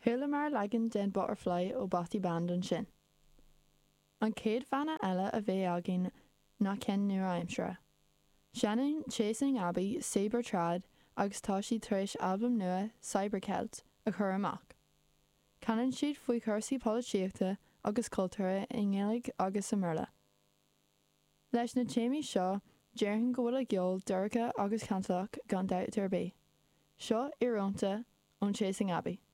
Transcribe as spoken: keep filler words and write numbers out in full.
Chualamar leagan den Butterfly ó Bothy Band ansin. An chéad bhanna eile a bheidh againn ná ceann nua-aimseartha. Seinneann Chasing Abbey Cyber Trad agus tá siad tar éis albam nua Cybercelt a chur amach. Canann siad faoi chúrsaí polaitíochta agus cultúrtha i nGaeilge agus i mBéarla. Leis na téamaí seo déarfainn go bhfuil a gceol dorcha agus cantalach gan dabht ar bith. Seo íorónta ón Chasing Abbey.